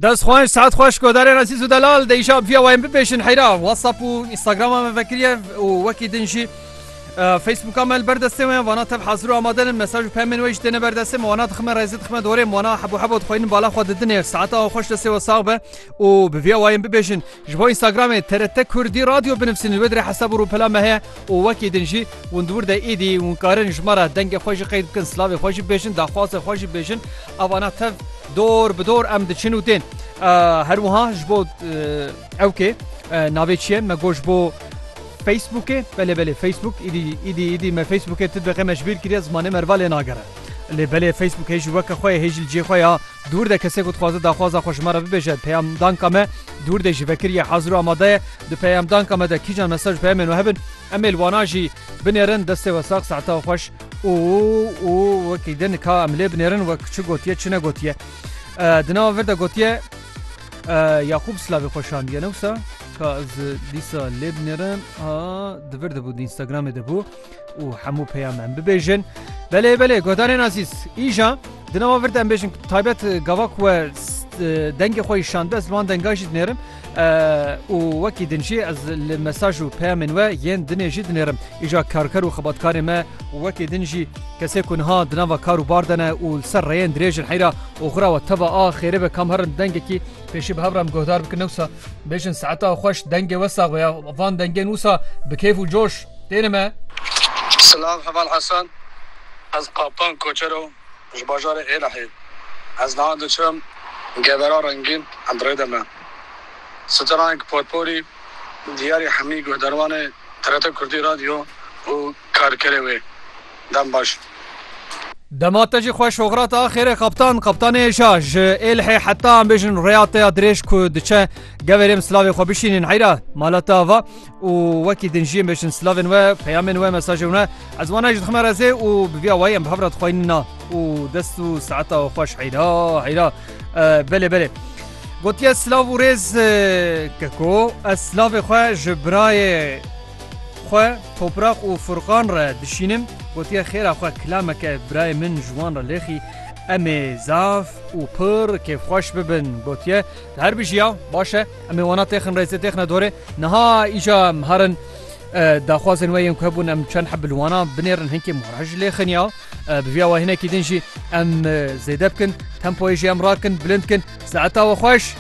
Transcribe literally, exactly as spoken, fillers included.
Dest xweş, saet xweş, godarên ezîz û delal, de îşa bi vîya wayên bibêjin heyra. WhatsApp û Instagrama me vekiriye û wekî din jî, e, Facebooka me li ber destê me, vana tev hazir û amade ne, mesaj û peyamên we jî têne ber destê me, wana dixime rêzê, dixime dorê, wana hebo hebo dixweynin bala xwe didinê. Saeta xweş, destê we sax be û bi vîya wayên bibêjin. Ji bo Instagramê T R T Kurdî Radyo binivsînin, wê dirê hesab û rûpela me heye û wekî din jî hûn di wir de êdî hûn karin ji me re dengê xwe jî qeyd bikin, silavê xwe jî bibêjin, daxwazê xwe jî bibêjin. Evana tev dor bi dor em diçin û tên. Ee, her wiha ji bo, e, ewkê, e, navê çi ye? Me got ji bo Facebookê. Belê, belê, Facebook. Îdî, îdî, îdî me Facebookê tu dibe qê me ji bîr kiriye, zimanê me li va lê nagere. Lê belê, Facebook hê jî weke xwe ye, hê jî li cihê xwe ya. Dûr de kesê ku dixwaze daxwaza xwe ji me re bibêje, peyamdanka me dûr de jî vekiriye, hazir û amade ye. Di peyamdanka me de kîjan mesaj û peyamên we hebin, em ê li wana jî binêrin. Destê we sax, saeta we xweş. Û, û wekî din ka em lê binêrin, wek çi gotiye, çi negotiye. E, di nava vir de gotiye, e, Yaqûb silavê xwe şandiye, ne wisa? Ka ez dîsa lê binêrim, ha, di vir de bû, di Instagramê de bû. Û hemû peyam em bibêjin. Belê, belê, godarên azîz, îja di nava vir de em bêjin, taybet, e, gava ku we, s-, e, dengê xwe îşand, ez li wan denga jî dinêrim. E, û wekî din jî ez li mesaj û peyamên we yên dinê jî dinêrim. Îja karker û xebatkarê me û wekî din jî kesê ku niha di nava kar û bar de ne û li ser rêyên dirêj in heyra, oxira we teva a xêrê be, kam herin dengekî pêşî bi hev re em guhdar bikin, ne wisa bêjin saeta xweş, dengê we sax be ya, van dengên wisa bi keyf û coş têne me. Silav heval Hasan, ez Kaptan Koçero, ji bajarê Êlihê. Ez niha diçim Gevera Rengîn, em bi rê de me. Straneke porporî diyarî hemî guhdarvanê T R T Kurdî Radyo û karkerê wê. Dem baş. Dema te jî xweş, oxira te a xêrê, Kaptan, Kaptanê Êşa, ji Êlihê heta em bêjin rêya te ya dirêj ku diçe, geverê em silavê xwe bişînin heyra mala te ava. Û wekî din jî em bêjin silavên we, peyamên we, mesajên we, ez wana jî dixime rêzê û bi vîya wayî em bi hev re dixweynin na. Û dest û saeta we xweş heyra, heyra. E, belê, belê. Gotiye, silav û rêz, e, keko, ez silavê xwe ji birayê xwe Toprak û Furqan re dişînim. Gotiye, xêra xwe kilameke birayê min ji wan re lêxî, em ê zaf û pir kêfxweş bibin. Gotiye, her bijiya, baş e, em ê wana têxin rêzê, têxine dorê. Niha îca em herin, e, daxwazên we yên ku hebûn, em çend heb li wana binêrin, hinkê mora jî lêxin ya. E, bi vîya we hinekî din jî em, e, zêde bikin, tempoyê jî em rakin, bilind bikin. Saeta we xweş.